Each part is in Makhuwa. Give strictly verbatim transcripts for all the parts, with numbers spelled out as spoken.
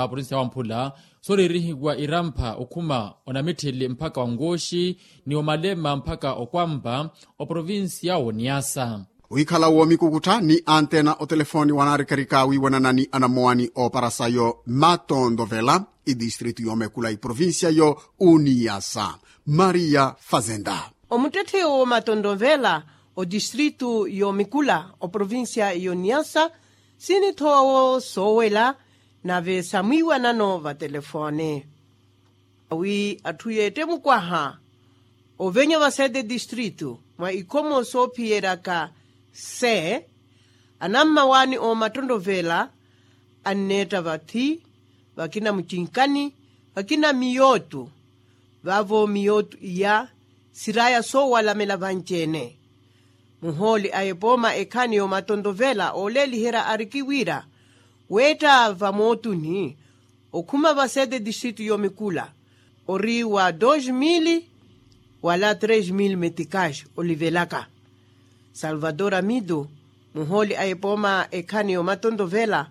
Oprovincia wamphula sooriirihiwa irampha okhuma onamitthili mpakha onkuxi ni omalema mpakha okwampa oprovincia woniyasa. Wikhala womikukuttha ni antena otelefoni wanaarikarika wiiwanana ni anamowani ooparasayo matontovela idistritu yomekula iprovincia yo uniyasa. Maria fazenda. Omuttetthe woomatontovela otistritu yomikula oprovincia yoniyasa sinithowa wo soowela nave samwiiwanano vatelefone wi atthu yeette mukwaha ovenya vasete distritu mwa ikhomo soophiyeryaka se anammawaani oomattontovela anneetta vathi vakina mucinkani vakina miyootu. Vaavo miyootu iya siraya soowalamela vanci-ene. Muhooli a epooma ekhaani yoomatontovela ooleeliherya ariki wira weetta vamootuni okhuma vasete distritu yomikula ori wa dos mil wala tres mil meticas olivelaka. Salvador amitu muhooli a epooma ekhaani yoomatontovela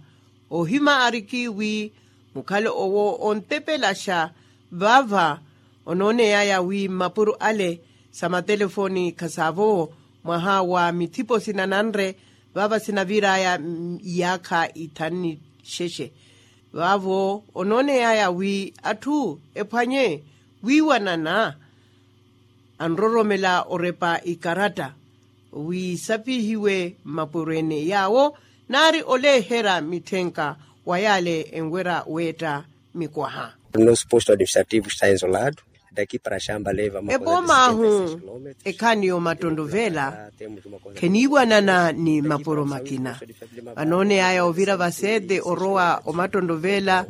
ohima ariki wi mukhale owo ontepelaxa vaava onooneyaya wi mmapuro ale sa matelefoni khasaavowo mwaha wa mithipo sinananre vaava sinaviraya iyaakha ithanu ni xexe. Vaavo onooneyaya wi atthu ephwanye wiiwanana anroromela orepa ikaratta wi sapihiwe mmapuro-ene yaawo naari oleeherya mitthenka wa yaale enwerya weetta mikwaha. Nosso posto administrativo está isolado daqui para xamba leva uma coisa de epoomaahu sessenta e seis quilômetros. Ekhaani yoomattontovela kheniiwanana ni mapuro makina vanooneyaya ovira vasete orowa omattontovela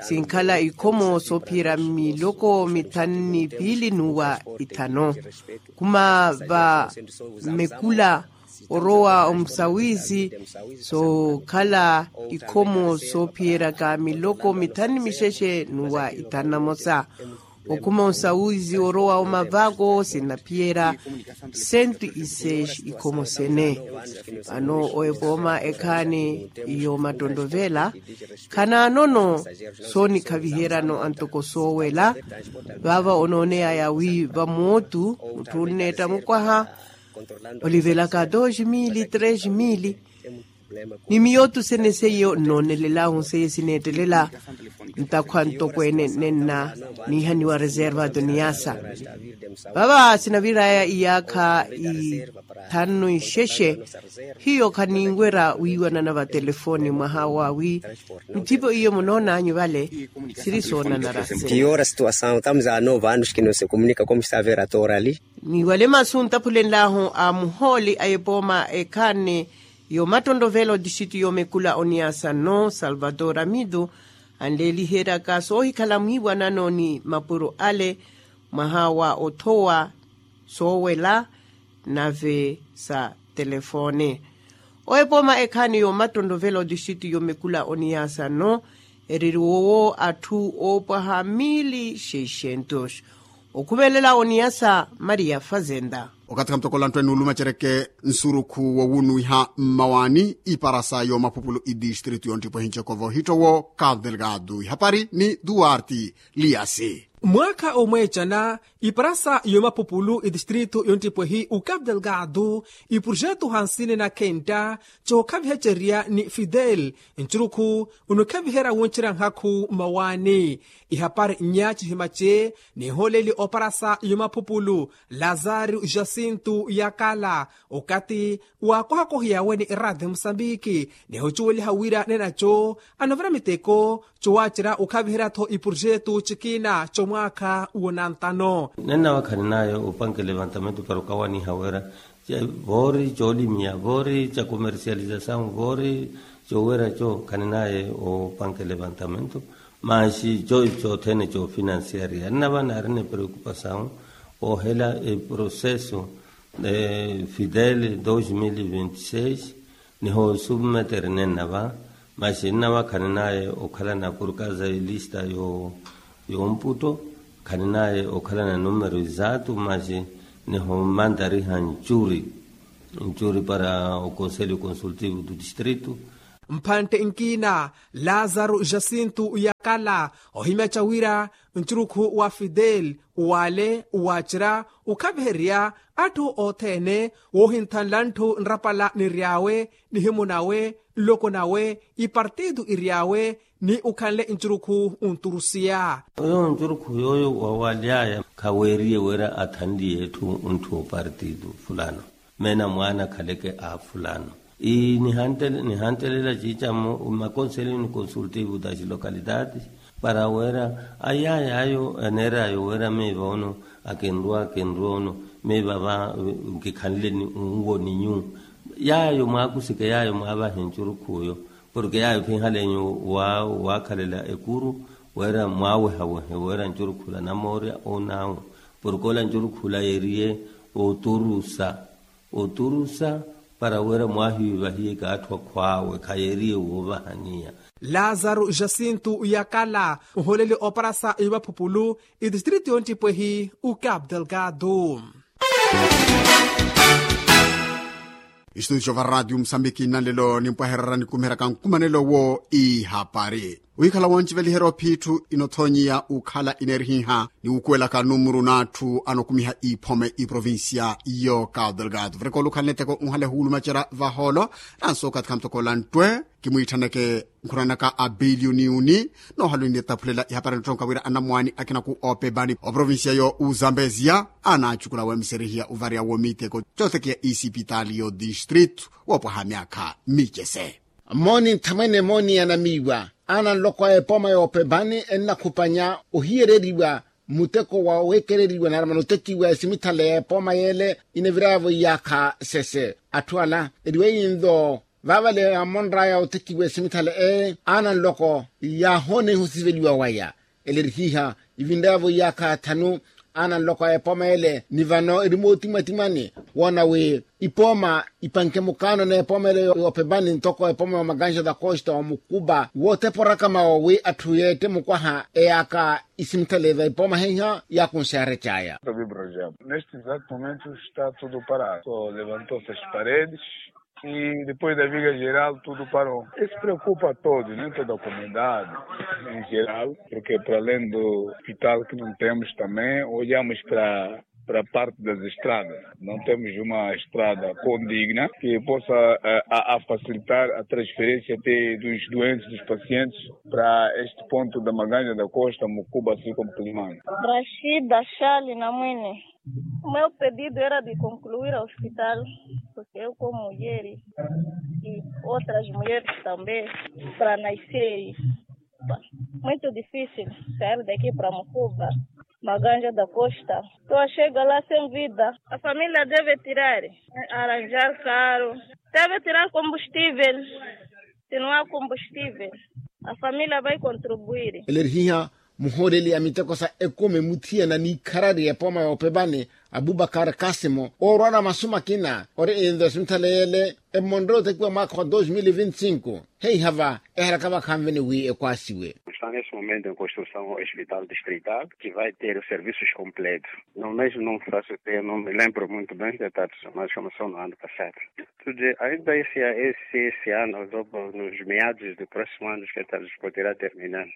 sinkhala ikhomo soophiyerya miloko mithanu ni piili n'uwa ithanu. Khuma va mmekula orowa omusawisi sookhala ikhomo soophiyeryaka miloko mithanu ni mixexe n'uwa ithanu na mosa. Okhuma omusawisi orowa omavako sinaphiyerya sentu iseexi ikhomo sene. Vano oepooma ekhaani yoomattontovela khanaanono soonikhaviheryano antoko soowela. Vaava onooneyaya wi vamootu mutthu onneetta mukwaha olivelaka dos mil tres mil ni miyootu sene seiyo nnoonelela ahu seiyo sineettelela ntakhwa ntokweene nenna niihaniwa reserva doniyasa. Vava sinaviraya iyaakha ithanu ixexe hiyo khaninwerya wiiwanana vatelefoni mwaha wa wi mithipo iyo munoonanyu vale siri soonanara se. Piora situação estamos a nove anos que não se comunica como está a ver atorali. Ni wale masu ntaphulenlahu a muhooli a epooma ekhaani yoomattontovela otixitu yoomekula oniyasa nno salvador amitu anleeliheryaka soohikhala mwiiwanano ni mapuro ale mwaha wa othowa soowela nave sa telefone. Oepooma ekhaani yoomattontovela otixitu yoomekula oniyasa nno ereriwowo atthu oopwaha mili xeishentos. Okhumelela oniyasa maria fazenda. Okathi khantokola ntthwe nuulumacereke nsurukhu wowunuwiha mmawaani iparasa yoomaphupulu idistritu yonttipwehi ncekova ohittowo cabo delgado ihapari ni duarte liasi. Mwaakha omweecana iparasa yoomaphupulu idistritu yonttipwehi ocabo delgado iprojetu hansini na khenta cookhavihecerya ni fidel ncurukhu onukhaviherya wuncerya nhakhu mmawaani. Ihapari nnya cihimace nihooleli oparasa yomaphupulu lazario jacinto yakala okathi waakohakohiyawe ni eradio musambiki nihucuweliha wira nenaco anavira miteko cowacerya okhaviherya-tho iprojetu cikina comwaakha wonantano. Nennawa khaninaye opanke levantamento para okawaniha wira voori coolimiya voori ca comercializasawu voori cowerya co khaninaye opanke levantamento. Maxi coyi cothene coofinansiariya nnava naarina epreokupasawu oohela eproseso fidele dos mil e vinte e seis. Nihoosubmeterene nnava maxi nnava khaninaye okhalana porkaza elista yoomputo khaninaye okhalana numero exato maxi nihoomantariha ncuri ncuri para oconselho consultivo do distrito. Mphantte nkiina, lazaru jacintu yakala ohimyaca wira ncurukhu wa fidel, uwale uwacira ukhaviherya atthu othene, woohinthanla ntthu nrapala niry'awe, nihimu nawe, nloko nawe, ipartitu iry'awe, ni ukhanle ncurukhu onturusiya. Oyo ncurukhu yooyo wawaly'aya khaweeriye wira athanliye etthu ntthu opartitu fulano, meena mwaana khaleke a fulano. Nihantelela ciicamo makonselini consultivo das localidades, para wira ayaya ayo aneer'ayo wira miiva ono akinrwa akinrwa ono, miiva va nkikhanleni nwo ni nyuwo. Yaayo mwaakusike yaayo mwaavahe ncurukhu oyo, porke yaayo khinhalenyu waakhalela ekuru, wira mwaawehawehe wira ncurukhu la namoorya onaawe, porke ola ncurukhu la yeeriye oturusa oturusa, para wira mwaahiwivahiyeke atthu akhw'awe khayeeriye woovahaniya. Lazaru jacintu yakala, nholeli oparasa ivaphupulu, itistritu yonttipwehi, ukapu delgado. Istudio va ratio musambiki nnanlelo nimpwahererya nikumiheryaka nkumanelo wo ihapari. Wikhala wonciveliherya ophiitthu inothonyiya ukhala ineerihiha ni wukuwelaka numuru n'atthu anokumiha iphome iprovincia yo cabo delgado vureka olukhala niteko nhale huwulumacerya vahoolo. Nanso okathi khamutokoola nttwe kimwiithaneke nkhurani naka a biliyoni uni. Noohalo ninitaphulela ihapari nottonka wira anamwaani akinaku oopepani oprovincia yo uzambeziya anacukula weemiserihiya ovariya wo miteko cootekiya isipitaali yo distritu woopwaha myaakha micese. Mooni nthamwene mooni ya namiiwa, aana nloko a epooma yoopepani ennakhupanya ohiyereriwa muteko wa weekereriwa nari manotekiwa esimithala ya epooma yeele inaviraya-vo iyaakha sese. Atthu ala eriwe yinlo vaavale yaamonraya otekiwa esimithala eye aana nloko yaahoona iho siveliwa waya. Ele erihiiha ivinraya-vo iyaakha thanu aana nloko a epooma ele ni vano eri mootimwatimwani woona wi ipooma ipanke mukaano n'epooma ele yoopepani ntoko epooma ya omakanxa da costa omukupa wootepa orakama owi atthu yeette mukwaha eyaaka isimithale va ipooma heiha yaakunxa yarecaya. Neste exato momento está tudo parado só levantou-se as paredes. E depois da viga geral tudo parou. Isso preocupa a todos, né, toda a comunidade em geral, porque para além do hospital que não temos também olhamos para para a parte das estradas. Não temos uma estrada condigna que possa a facilitar a transferência até dos doentes, dos pacientes para este ponto da Maganja da Costa, Mucuba, Circo Muculimano. Rashida Shali Namwini. O meu pedido era de concluir o hospital, porque eu como mulher e outras mulheres também, para nascer. Muito difícil sair daqui para Mucuba, Maganja da Costa. Estou a chegar lá sem vida. A família deve tirar, arranjar carro. Deve tirar combustível. Se não há combustível, a família vai contribuir. Ele erihiha muhooleli a miteko sa ekumi muthiyana n'ikharari epooma yoopepani, abubakar kasimo oorwana masu makina ori inve simithaleyele. Emmonre otekiwa mwaakha wa dos mil vinti cinco, heiha va ehalaka vakhanveni wi ekwaasiwe. Está nesse momento em construção o hospital distrital que vai ter os serviços completos. No mês não faço ter não me lembro muito bem de datas mas começou no ano passado. Ainda esse ano nos meados do próximo ano os coitados poderá terminar.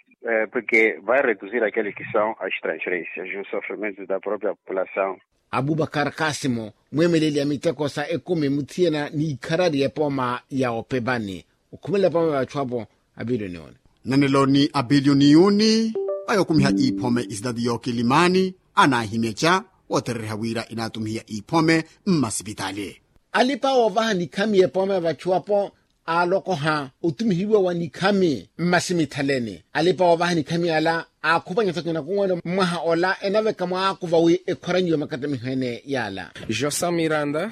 Porque vai reduzir aqueles que são as transferências e os sofrimentos da própria população. Abubakar kasimo mweemeleli a miteko sa ekumi muthiyana n'ikharari epooma ya opepani okhumelela epooma ya vachu apo. Abiliyoni yuni nanelo ni abiliyoni yuni. Vayookumiha iphome isidadi yookilimani anaahimyeca wootereriha wira inaatumihiya iphome mmasipitali. Alipa woovaha nikhami epooma ya vachu apo aalokoha otumihiwa wa nikhami mmasimithaleni alipa woovaha nikhami ala. Aakhupanyatho kinakuwene mwaha ola enaveka mwaakuva wi ekhwaranyiwe makattamiho ene yaala. Josa miranda.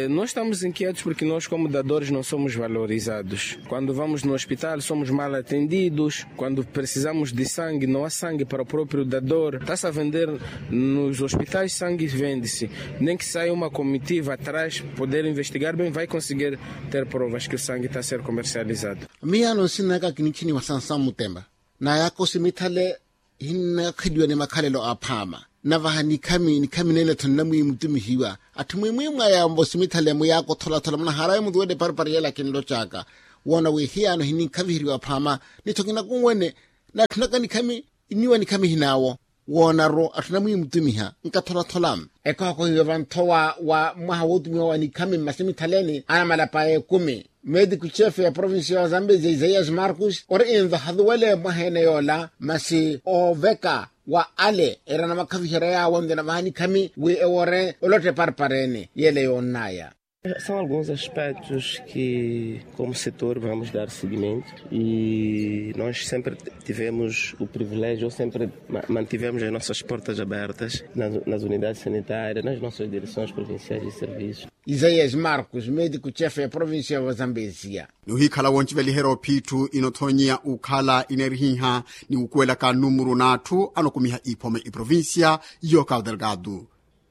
Nós estamos inquietos porque nós como dadores não somos valorizados. Quando vamos no hospital somos mal atendidos. Quando precisamos de sangue não há sangue para o próprio dador está-se a vender. Nos hospitais sangue vende-se. Nem que saia uma comitiva atrás poder investigar bem vai conseguir ter provas que o sangue está a ser comercializado. Miyaano nsinaka kinichiniwa sansamu mutemba nayaka osimithale hinnakakheliwa ni makhalelo aphaama. Navaha nikhami nikhami nene-tho nnamwiimutumihiwa. Atthu mwimwimwaya mvosimithale muyaaka otholathole munaharawe mutuwele parpari yela kinlocaka. woona wi hiyaano hininkhaviheriwa phaama, ni tho kinakunwene n'atthu naka nikhami, inniwa nikhami hinaawo. Woonaru atthu anamwiimutumiha nkatholatholamu. Ekookohiwe vanthowa wa mwaha wootumiwa wa nikhami mmasi mithaleni anamalapa a ekumi, mediku chefe ya provincia ya zambezia isaias marcus ori envahaduwele mwaha ene yoola masi ooveka wa ale era namakhaviherya yaawo nto navaha nikhami wi ewore olotta eparepareene yele yoonnaya. São alguns aspectos que como setor vamos dar seguimento e nós sempre tivemos o privilégio ou sempre mantivemos as nossas portas abertas nas unidades sanitárias nas nossas direções provinciais de serviço. Isaias marcos mediku chefe ya provincia ya vazambezia. Ni ohikhala wonciveliherya ophiitthu inothonyiya ukhala inerihiha ni ukuwelaka numuru n'atthu anokumiha iphome iprovincia yo cabo delgado.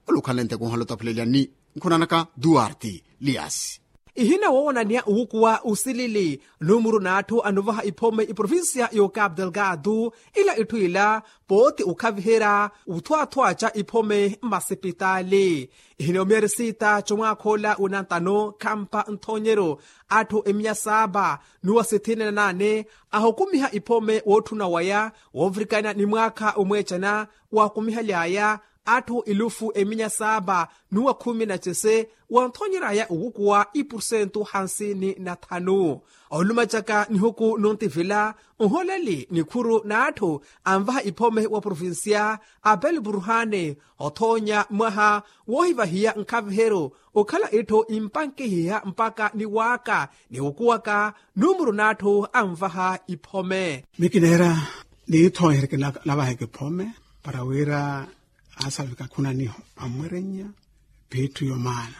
Olukhanle nteko nhalotaphulelia ni nkhunanaka duarte liasi. Ihina woowonaniya uwukuwa usilili numuru n'atthu anovaha iphome iprovincia yo cabo delgado. Ila itthu ila pooti ukhaviherya uthwaathwaaca iphome mmasipitaali. Ihina omiyari siita comwaakha ola winantano khampa nthonyeryo atthu emiya saapa n'uwa sithini na naane ahukumiha iphome wootthuna waya woovirikana ni mwaakha omweecana. Waakumihaly'aya atthu elufu eminya saapa n'uwa khumi na cese wanthonyer'aya owukuwa ipursentu hansini na thanu. Olumacaka nihuku nontivila nholeli nikhuru n'atthu anvaha iphome wa provincia abel burhane othoonya mwaha woohivahiya nkhaviheryo okhala itthu impankihiha mpaka niwaaka niwukuwaka numuru n'atthu anvaha iphome. Mikineera niithoonhereke navaheke phome para wira asalavika khunaniho amwerennya. Phiitthu yomaana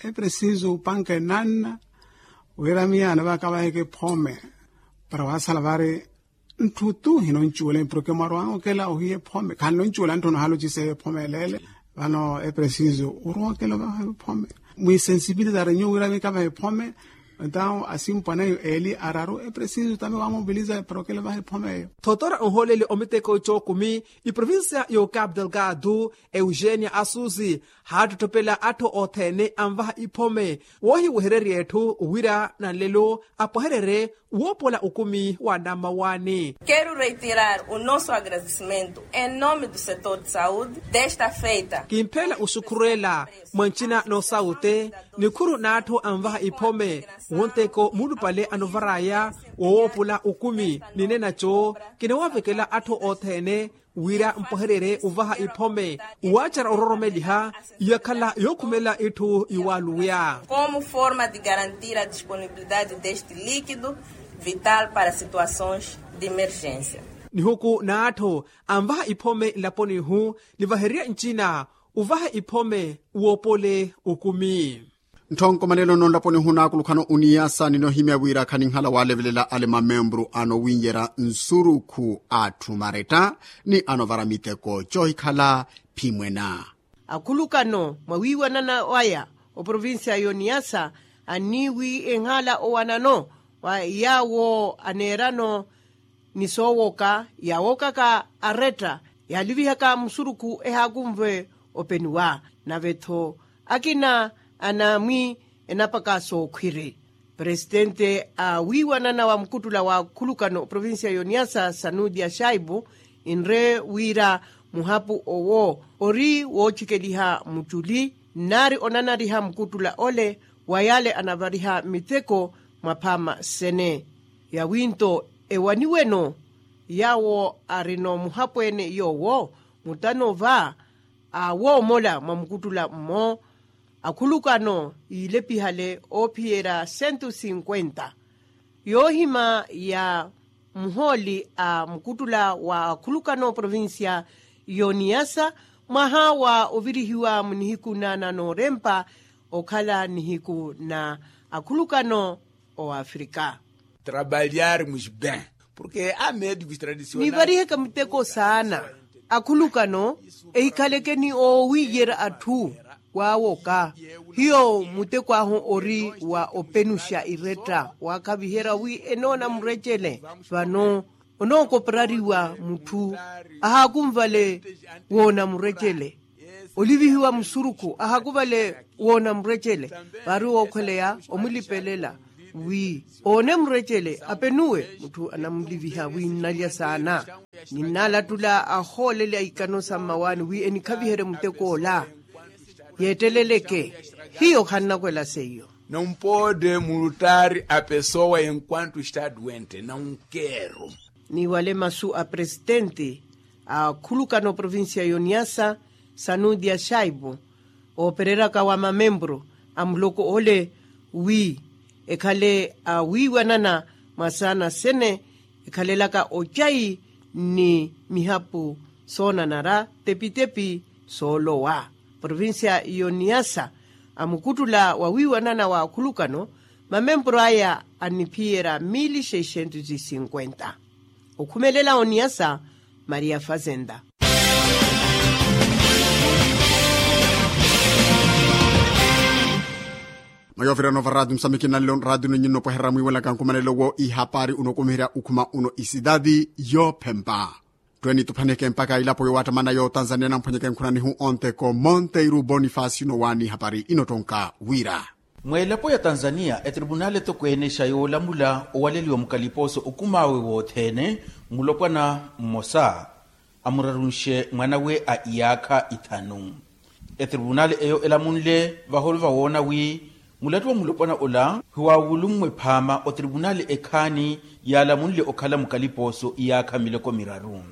epresiso upanke nanna wira miyaana vakavaheke phome para wasala vari ntthu tu hinoncuwela empurokemo arwanga okela ohiye phome khanoncuwela ntthu nohalociseye phome eleele. Vano epresiso urwa okela ovaheke phome mwisensibilizare nyuwo wira mikavahe phome. Entawo asimpwaneyo eli araru epresiso tame wamobiliza eprokele vahe phome eyo. Thotora onholeli omiteko cookumi iprovincia yo cabo delgado eugenia asusi haattotthopela atthu othene anvaha iphome woohiwehererya etthu wira nanlelo apwahererye woopola okumi wa nammawaani. Quero retirar o nosso agradecimento em nome do setor de saúde desta feita. Kimpheela oxukhurela mwa ncina n'osaute nikhuru n'atthu anvaha iphome wonteko mulupale anovar'aya wowoopola okumi ninenaco kinawavekela atthu othene wira mpwahererye ovaha iphome owaacara ororomeliha iyakhala yookhumela itthu iwaaluwya. Como forma de garantir a disponibilidade deste líquido vital para situações de emergência. Nihuku n'atthu anvaha iphome nlaponi ihu nivahererye ncina ovaha iphome woopole okumi. Ntthu onkomanelo nonlaponi ohu naakulukhano oniyasa ninohimya wira khaninhala waalevelela ale mamemburu anowinyerya nsurukhu atthu maretta ni anovara miteko coohikhala phimwena. Akhulukano mwa wiiwanana waya oprovincia y'oniyasa anniiwi enhala owanano wa yaawo aneerano ni soowoka yaawookaka aretta yaalivihaka musurukhu ehaakunve openiwa nave-tho akina anamwi enapaka sookhwiri. Presitente a wiiwanana wa mukuttula wa akhulukano oprovincia y'oniyasa sanudia shaipu enre wira muhapu owo ori woocikeliha muculi nnaari onanariha mukuttula ole wa yaale anavariha miteko mwa phaama sene. Yawi-nto ewaniweno yaawo arino muhapweene yoowo mutano va awoomola mwa mukuttula mmo akhulukano yiilepihale oophiyerya sentu sinkwenta. Yoohima ya muhooli a mukuttula wa akhulukano oprovincia y'oniyasa mwaha wa ovirihiwa mu nihiku na na noorempa okhala nihiku na akhulukano owafrika. Trabalharmos bem porque a médicos tradicionais nivariheke muteko saana akhulukano ehikhaleke ni oowiyerya atthu waawoka hiyo muteko ahu ori wa openuxa iretta waakhaviherya wi enoona murecele vano onookoperariwa mutthu ahaakunvale woona murecele olivihiwa musurukhu ahaakunvale woona murecele vaari wookhweleya omulipelela wi oone murecele apenuwe mutthu anamuliviha wi nnalya saana. Ninnalattula ahooleli a ikano sa mmawaani wi enikhaviherye muttek'ola yeetteleleke. Hiyo khannakwela seiyo. Não pode multar a pessoa enquanto está doente, não quero. Ni wale masu a presitente a khulukano provincia y'oniasa, sanudia shaipo, oopereraka wa mamempuro a muloko ole wi ekhale awiiwanana mwa saana sene ekhalelaka ocayi ni mihapu soonanara tepitepi soolowa. Provincia y'oniasa amukuttula wawiiwanana wa akhulukano mamempuro aya aniphiyerya mili seiscentos e cinquenta. Okhumelela oniyasa maria fazenda. Mayovirano va radio musamiki nanlo radio nonyinno pweherera mwiiwelaka nkhumanelo wo ihapari unokumiherya ukhuma uno isidadi yophempa. Twenituphaneke mpaka ilapo yowattamana yo tanzania namphwanyeke nkhunanihu onteko monteiru bonifacio nowani hapari inottonka wira. Mweelapo ya tanzania etripunali etokweenexa yoolamula owaleliwa mukalipooso okumaawe wothene mulopwana mmosa amurarunxe mwanawe a iyaakha ithanu. Etripunali eyo elamunle vaholo vawoona wi mulattu wa mulopwana ola hiwawulummwe phaama otripunali ekhaani yaalamunle okhala mukalipooso iyaakha miloko miraru.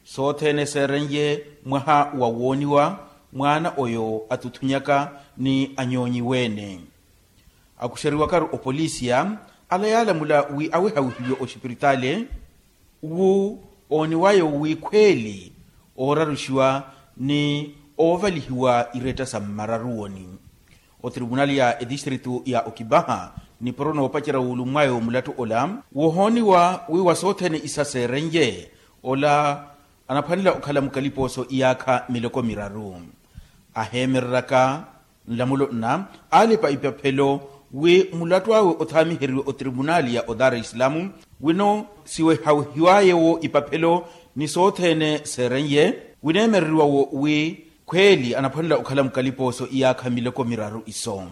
Sothene seerenye mwaha wa wooniwa mwaana oyo atutthunyaka ni anyoonyiwe-ene. Akuxeriwakaru opolisiya ala yaalamula wi awehawihiwe oxipiritali wu ooniwayo wi khweeli ooraruxiwa ni oovalihiwa iretta sa mmararuwoni. Otripunali ya etistritu ya okipaha nipuro noopacerya wuulummwayo mulattu ola wohooniwa wi wa sothene isa seerenye ola anaphwanela okhala mukalipooso iyaakha miloko miraru. Aheemereraka nlamulo nna aalipa ipaphelo wi mulattu awe othaamiheriwe otripunali ya odara isilamu wino siwehawihiwaye-wo ipaphelo ni sothene seerenye wineemereriwa-wo wi khweeli anaphwanela okhala mukalipooso iyaakha miloko miraru iso.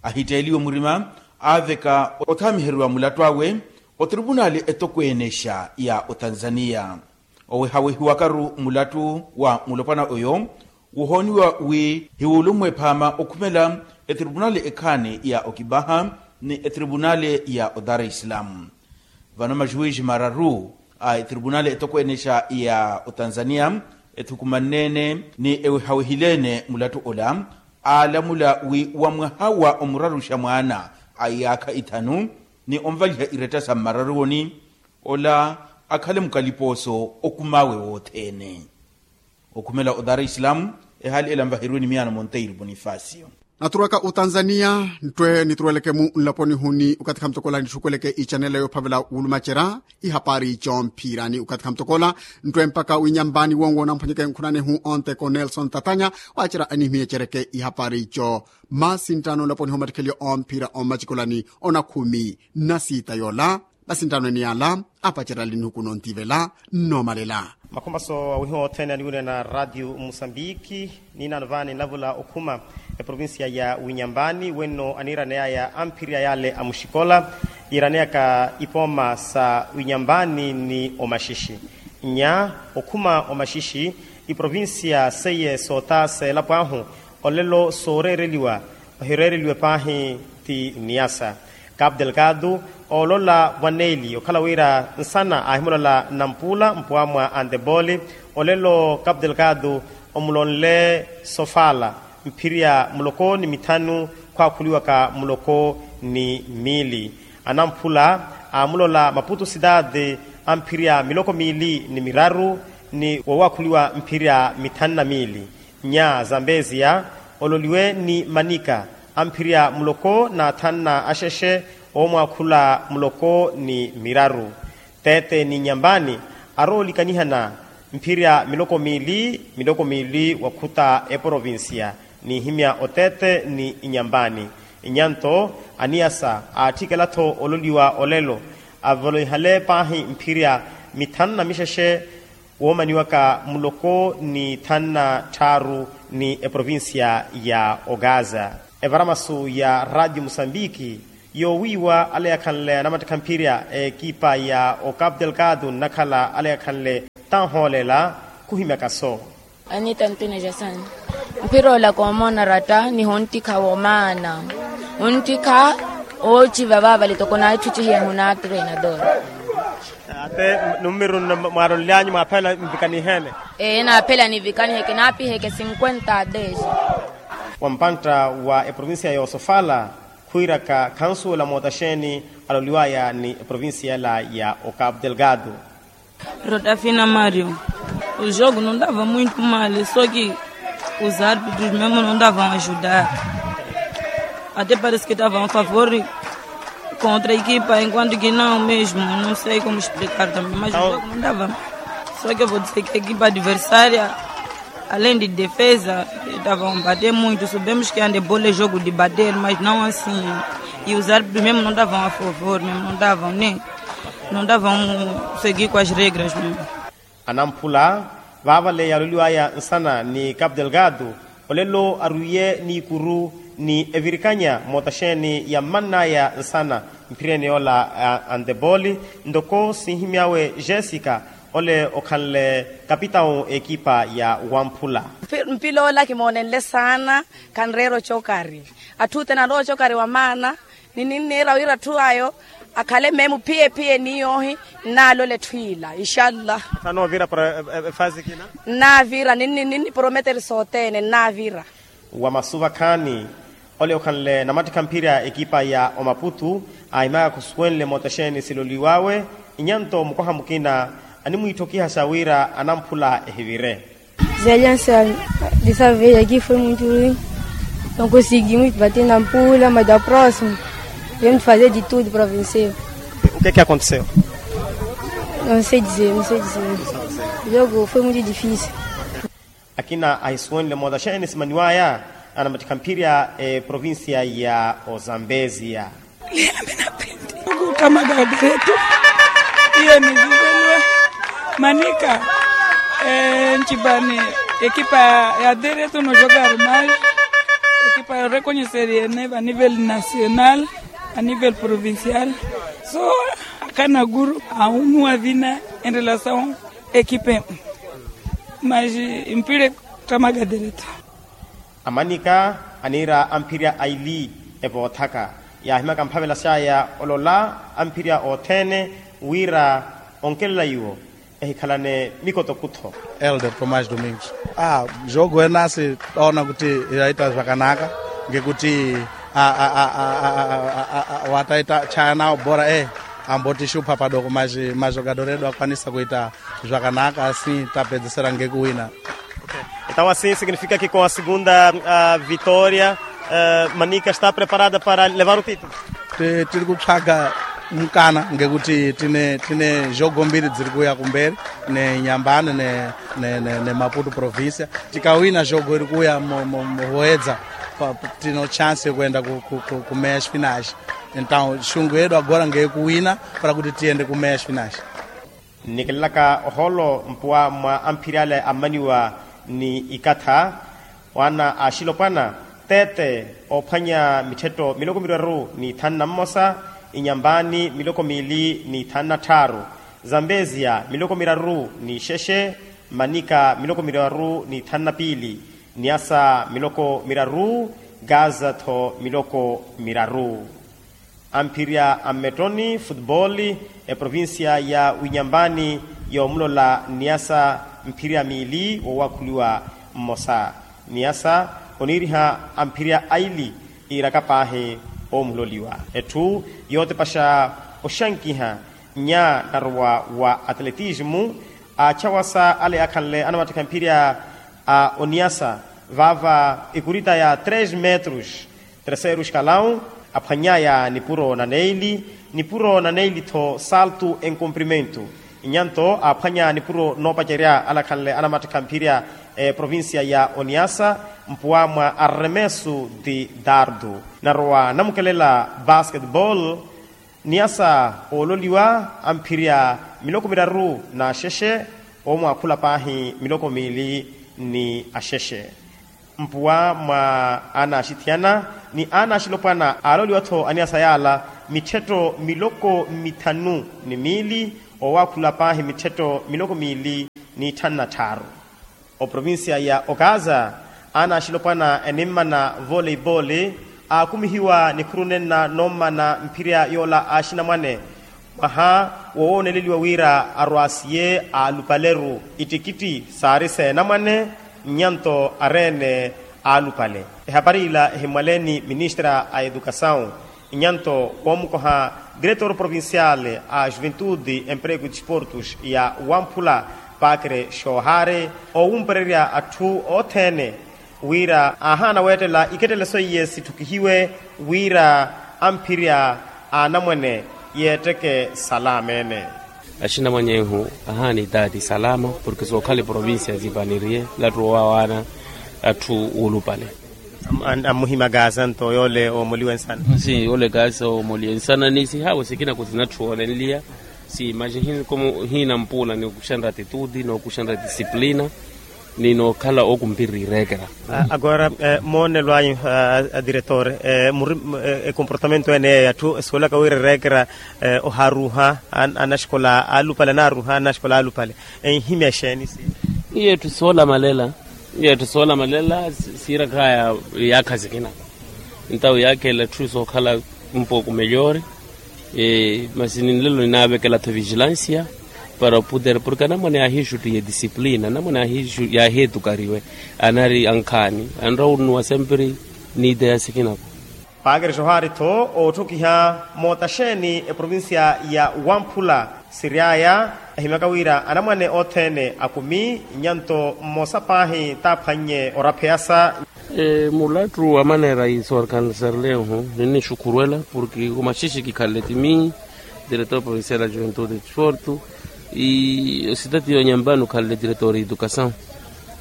Ahitteeliwe murima aaveka othaamiheriwa mulattu awe otripunali etokweenexa ya otanzania. Owehawehiwakaru mulattu wa mulopwana oyo wohooniwa wi hiwulummwe phaama okhumela etripunali ekhaani ya okipaha ni etripunali ya odara isilamu. Vano majuwiji mararu a etripunali etokweenexa ya otanzania ethukumanne-ene ni ewehawehile-ene mulattu ola aalamula wi wa mwaha wa omuraruxa mwaana a iyaakha ithanu ni onvaliha iretta sa mmararuwoni ola akhale mukalipooso okumaawe wothene. Okhumela odara isilamu ehaali ela nvaheriwe ni miyaano monteiro bonifacio. Naturwaka otanzania nttwe nituruweleke-mu nlaponi-hu ni okathi khamutokola nitthukhuweleke ichanela yoophavela wulumacerya ihapari coomphira ni okathi khamutokola nttwe mpaka winyambaani wonwo namphwanyeke nkhunani-hu onteko nelson tatanya waacerya anihimiyeceryeke ihapari co. Masinttano nlaponi-hu omattikhelyo oomphira ommacikolani onakhumi nnasiita yoola. Masinttano ene yaala apacerya ali nihuku nontivela nnoomalela. Makhumaso awihiwa othene aniwiriyana radio musambiki. Niinaano vaani nlavula okhuma eprovincia ya winyambani wenno aniiraneyaya amphiriya yale amuxikola yiiraneyaka ipooma sa winyambani ni omaxixi. Nya okhuma omaxixi iprovincia seiye soota seelapo ahu olelo sooreereliwa ohireereliwe paahi ti niyasa. Kapu delgado oolola vwaneeli okhala wira nsana aahimulola nampula mpuwa mwa anteboli. Olelo kapu delgado omulonle sofala mphirya muloko ni mithanu khwaakhuliwaka muloko ni miili. Anamphula aamulola maputu sitaati amphirya miloko miili ni miraru ni wowaakhuliwa mphirya mithanu na miili. Nya zambeziya ololiwe ni manika amphirya muloko na thanu na axexe oomwaakhula muloko ni miraru. Tete ni nyambani aroolikanihana mphirya miloko miili miloko miili wakhuta eprovincia. Niihimya otete ni inyambani inyanto aniyasa aatthikela-tho ololiwa olelo avoloihale paahi mphirya mithanu na mixexe woomaniwaka muloko ni thanu na tthaaru ni eprovincia ya ogaza. Evaramasu ya radio musambiki Yoowiiwa ale yakhanle anamattikha mphirya ekipa ya ocapu delgado nnakhala ale yakhanle tanhoolela khuhimyaka so. Anita ntine jasani. Mphiroola koomoona ratta ni hunttikha womaana. Hunttikha oociva vaavale toko naatthucihiye hunaatrenador. Ate nummiru nno mwaaronlyanyu mwaaphela nvikaniheene. Ee naaphela nivikaniheke naapiheke cinquenta a dez. Wa mpantta wa eprovincia yoosofala khwiiraka khansuwela mootaxeeni aloliwaya ni eprovincia ela ya ocapu delgado. Rotafina mario. O jogo não dava muito mal, só que os árbitros mesmo não davam ajudar. Até parece que estavam a favor contra a equipa, enquanto que não mesmo, não sei como explicar também, mas o jogo não dava. Só que eu vou dizer que a equipa adversária, além de defesa, estavam a bater muito. Sabemos que handebol é jogo de bater, mas não assim. E os árbitros mesmo não davam a favor, mesmo não davam nem, não davam seguir com as regras mesmo. Anamphula vaavale yaaloliwaya nsana ni capu delgado, olelo arwiiye n'ikuru ni evirikanya mootaxeeni yammann'aya nsana mphiryeeni yoola a handebol. Ntoko sinhimy'awe jessica, ole okhanle kapitawu ekipa ya wamphula. Mpila ola kimoonenle saana, khanreera ocokari. Atthu othene anrowa ocokari wa maana. Ni ninniira wira atthu ayo akhale meemu phiye-phiye ni yoohi. Nnaalola etthu ila inshallah. Sano ovira para efasi kina. Nnaavira ninni ninni prometer sothene nnaavira. Wa masu vakhaani, ole okhanle namattikha mphirya ekipa ya omaputu aahimyaka khusuwenle mootaxeeni siloliw'awe. Inyanto mukoha mukina animwiitthokihaxa wira anamphula ehivire. Zaliansa. Disa veya ki foi munturi. Nonkosiki muipatina mpula mada proximo. Vemutfaze di tudo provincial. O que que aconteceu? Nonsedize nonsedize. Jogo foi muito difícil. Akina ahisuwenle mootaxeeni simaniwaya anamattikha mphirya eprovincia ya ozambezia. Liya minapindi. Kukamaka dereto. Iyo ni vivelwe. Manika. Ncipani. Ekipa ya dereto no jogar mais. Ekipa yo rekonyeseriyene va nivel nacional, a nivel provincial. So akanaguru ahunuwa vina en relasaw ekipe. Mas mpire. Ttamaka dereto. Amanika aniira amphirya aili evoothaka. Yaahimaka mphavelax'aya olola amphirya othene wira onkelela iwo ehikhalane mikotokutho. Elder tomás domingos. Jogo enasi oona kuti yaita zwakanaka ngekuti wataita chayanawo bora e amboti xupha padoko mas majogador edu akwanisa kuita zwakanaka asin tapedzesera ngekuwina. Entaw asin sikinifika kiko a segunda vitória. Manika está preparada para levar o título. Tiri kutthaka mukana ngekuti tine jogo mbiri dzirikuya kumberi, ne nyambani ne maputo provincia. Tikawina jogo irikuya muhuwedza tino chance yokwenda kumeya xfinage. Entaw xungu yedu agora ngekuwina para kuti tiyende kumeya xfinage. Nnikelelaka ohoolo mpuwa mwa amphiri ale ammaniwa ni ikatha. Wana a axilopwana, tete oophwanya mitthetto miloko miraru ni thanu na mmosa, inyambani miloko miili ni thanu na tthaaru, zambezia miloko miraru ni xexe, manika miloko miraru ni thanu na piili, niasa miloko miraru, gaza-tho miloko miraru. Amphirya a mmettoni futupoli, eprovincia ya winyambani yoomulola niyasa mphirya miili woowakhuliwa mmosa. Niyasa oniiriha amphirya aili iiraka paahi oomuloliwa. Etthu yootepaxa oxankiha nya narowa wa atletismu, aachawasa ale akhanle anamattikha mphirya a oniyasa vaava ikurita ya tres metros, terceiro escalão, aphwany'aya nipuro na neili, nipuro na neili-tho salto en comprimento. Inyanto aaphwanya nipuro noopacerya alakhanle anamattikha mphirya eprovincia ya oniyasa mpuwa mwa arremeso de dardo. Narowa namukelela basketball, niyasa oololiwa amphirya miloko miraru n'axexe, oomwaakhula paahi miloko miili ni axexe. Mpuwa mwa anaaxithiyana ni anaaxilopwana aalooliwa-tho aniyasa yaala mitthetto miloko mithanu ni miili, owaakhula paahi mitthetto miloko miili ni tthanu na tthaaru. Oprovincia ya okaza, anaaxilopwana enimmana voleipooli aakumihiwa nikhuru nenna noommana mphirya yoola axinamwane mwaha wowooneleliwa wira arwaasiye aalupale-ru ittikitti saari seenamwane, nnyanto areene aalupale. Ehapari ila ehimmwaleeni ministra a edukasawu nnyanto woomukoha diretor provincial a juventude emprego e disportos ya wamphula pakre xoohaari owumpererya atthu othene wira aahaana weettela iketteleso iye sitthukihiwe wira amphirya aanamwene yeetteke salama ene. Axinamwanyehu ahaana itaati salama porke sookhala eprovincia zipaniriye lattu owawaana atthu wuulupale. Ammuhimaka asanto yoole oomoliwe nsana. Si yoole kaasa oomoliwe nsana ni sihaawe sikina kuti natthu oolenliya si maxi hiinampuula ni okuxanra atituti ni okuxanra disciplina ni nookhala okumpirira ireekera. Agora moonelo anyu adiretor muri ekomportamento ene yeeyo atthu esuwelaka wira ereekera oharuuha anaxikola alupale anaruuha anaxikola alupale enhimya exeeni si? Iye etthu soolamalela iye etthu soolamalela siirakaya yaakha sikina. Entawu yaakhelela etthu sookhala mpoku meyori masi ninlelo ninaavekela-tho vigilancia para opuder porke anamwane yaahiixuttiye disciplina anamwane yaahiixuttiye yaahiyetukariwe anari ankhaani anrowa onuwa semperi niiteya sikinako. Paakeri xohaari-tho ootthokiha moota xeeni eprovincia ya wamphula siryaya ahimyaka wira anamwane othene akumi nnyanto mmosa paahi taaphwannye orapheyasa. Mulattu wa maneera iso orkansarlehu ninnixukhurwela porke omaxixe kikhalele timi diretor provincial a juventude e disporto e ositati yonyambani okhalele diretor edukasawu.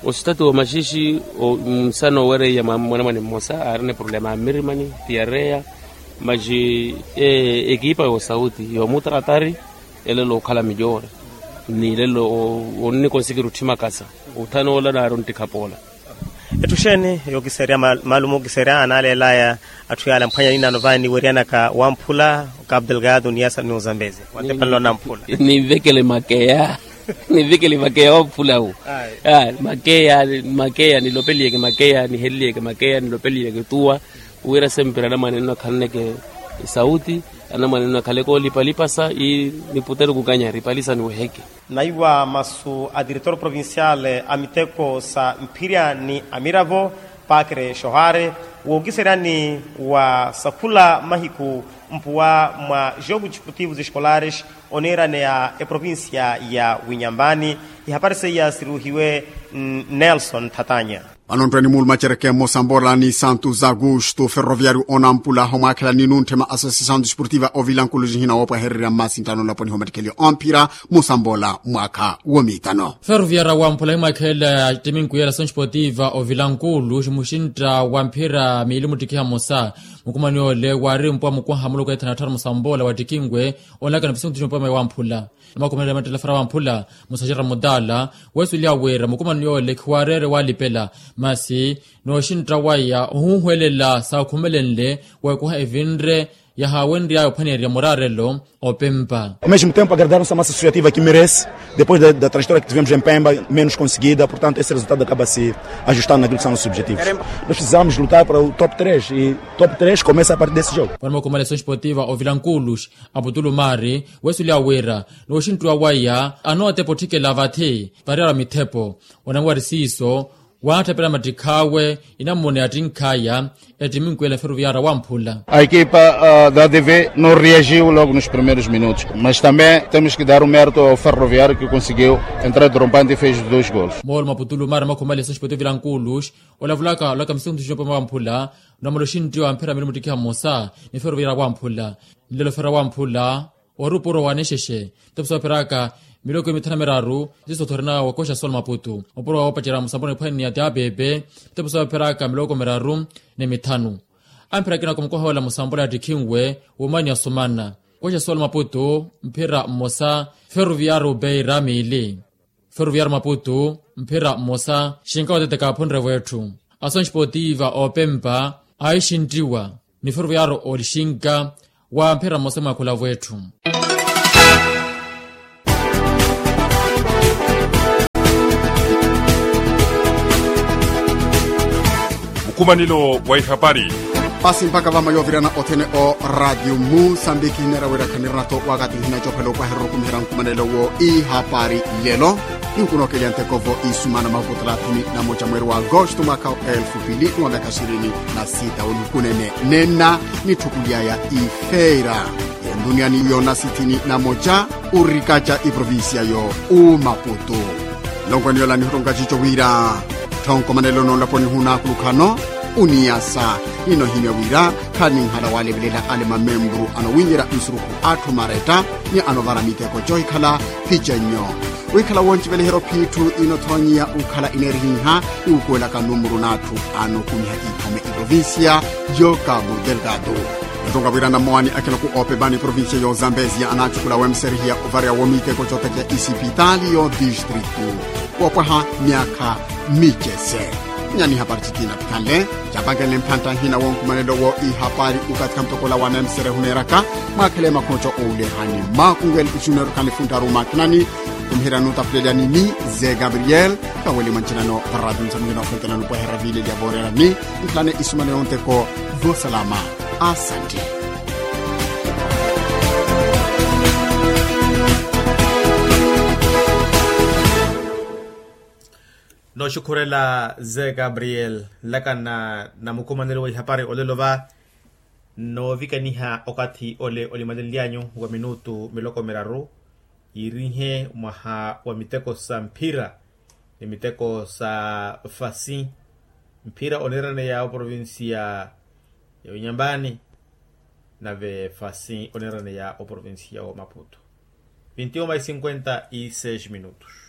Ositati womaxixe nsana owereiya mwanamwane mmosa aarina eproblema ya mmirimani tiyareya maxi ekipa yoosauti yoomutakatari elelo okhala mijoore ni lelo onnikonsikira otthimakasa othanoola naari onttikha poola. Etthu xeeni yookiserya maalumu ookiserya anaaleelaya atthu yaala mphwanya ninaano vaani niweryanaka wamphula okapu delgado ni yasa ni ozambezi watepanela onamphula. Ninvekele makeya ninvekele makeya wamphula wu. Makeya makeya nilopeliyeke makeya niheleliyeke makeya nilopeliyeke tuwa wira sempira anamwane nno akhalaneke esauti anamwane nno akhaleke oolipalipasa ii niputere okukanyari ipalisa niweheke. Naiwa masu a diretor provincial a miteko sa mphirya ni amiravo pakre shohare wookiseryani wa sakhula mahiku mpuwa mwa jogo disportivo escolares oniiraneya eprovincia ya winyambani. Ihapari seiya siruuhiwe nelson thatanya. Vano ntthweni muulumacereke mmosa mbola ni santu za augusto ferroviario onampula omwaakhela ni nuntthema associação desportiva ovilankulu zihina woopwahererya mmasinttano nlaponi homattikhelyo omphira mmosa mbola mwaakha womiittano. Ferroviario wamphula himwaakhela timinkuya la associação desportiva ovilankulu muxintta wa mphira miili muttikiha mmosa mukumani ole waari mpuwa mukwaha muloko ethana tthara mmosa mbola wattikinwe onlaka na pisiku ntthini opama wamphula. Namakhumanela mattelefera wamphula musaxera mutala weesuliha wira mukumani yoole khiwaareere waalipela masi nooxintta waya ohuuhwelela saakhumelenle weekuha evinre yahaawenry'aya ophwaneerya muraarelo opempa. Ao mesmo tempo agradarmos a massa associativa que merece depois da trajetória que tivemos em pemba menos conseguida portanto esse resultado acaba se ajustando naquilo que são nossos objetivos. Nós precisamos lutar para o top três e top três começa a partir desse jogo. Vano makhumale associação desportiva ovilankulus aputulu maari weesuliha wira nooxinttuwa waya anootepa otthikela vathi variyarwa mithepo onamwari siiso waatthapela mattikhaawe inammuna yattinkhaya ettiminkuya la ferroviaria wamphula. A equipa da adv não reagiu logo nos primeiros minutos mas também temos que dar o mérito ao ferroviario que conseguiu entrar trompante e fez os dois golos. Moolo maputulu maari makhumale associação desportiva ovilankulus olavulaka olaka misiku ntthini opama wamphula onamala oxinttiwa mphira miili muttikiha mmosa ni ferroviaria wamphula nlelo ferroviaria wamphula oori opuro wa nixexe ntepo soophiraka miloko mithanu na miraru. Ziso thorina wakoxa sol maputu opuro wa woopacera musambolo niphwani ni ati apepe ntepo soophiraka miloko miraru ni mithanu. Amphira akina kumukoha wala musambolo yattikhinwe womani asumana koxa sol maputu mphira mmosa ferroviario beira miili. Ferroviario maputu mphira mmosa xinka wateteka aphunrevo etthu. Ason esportiva oopempa aixintiwa ni ferroviario olixinka wa mphira mmosa mwa khulavu etthu. Mukhumanelo wa ihapari. Pasi mpakha vama yoovirana othene o radio musambiki hineera wira khanirina-tho wakathi nihina coophela opwahererya okhumiherya mukhumanelo wo ihapari. Lelo nihukunookelya ntekovo isumana mahuku thalathini na moja mweeri wa agosto mwakha wa elfu pili ni wa myakha ishirini na sita onihukunene nenna nitthukulyaya ifeira. Yonduniyani yoona sithini na moja urikaca iprovincia yo umaputu. Nlonkwani yola nihutonka cico wira tthonkomanelo noolaponi hunaakulukhano uniyasa ninohimya wira khaninhala walevelela ale mamembru anowinyerya nsurukhu atthu maretta ni anovara miteko coohikhala kicenyo. Wikhala wonciveleherya ophiitthu ino thonyiya ukhala ineerihiha iwukuwelaka numuru n'atthu anokumiha ikhome iprovincia yo cabo delgado. Nto ngavwirana mmowani akhiloku oopepani provincia yo zambezia anaacukula wemserehiya ovareya womiteko cootakiya isipitali yo distritu wopwaha myakha micese. Nyani hapari cittina pikhanle capankenle mphantta nhina wonkumanelo wo ihapari ukathi khamutokola wa nemserehu neeraka mwakhele makhoco oulehani makungeli isuneru khanifunttaru makhinani. Khumiherya nuutapulelya nini ze gabriel kaweli mwancinano parati nsamuhina ofentelani opweherya viilelya voorerani. Nkhalane isumane yonteko vosalama. Asanti. Nooxukhurela ze gabriel nlakana na mukhumanelo wa ihapari olelo va noovikaniha okathi ole olimalenlyanyu wa minutu miloko miraru yiirihe mwaha wa miteko sa mphira ni miteko sa fasi mphira oniiraneya oprovincia ya unyambani nave fasi oniiraneya oprovincia wa maputo. Vintioma isinkwenta iseis minutos.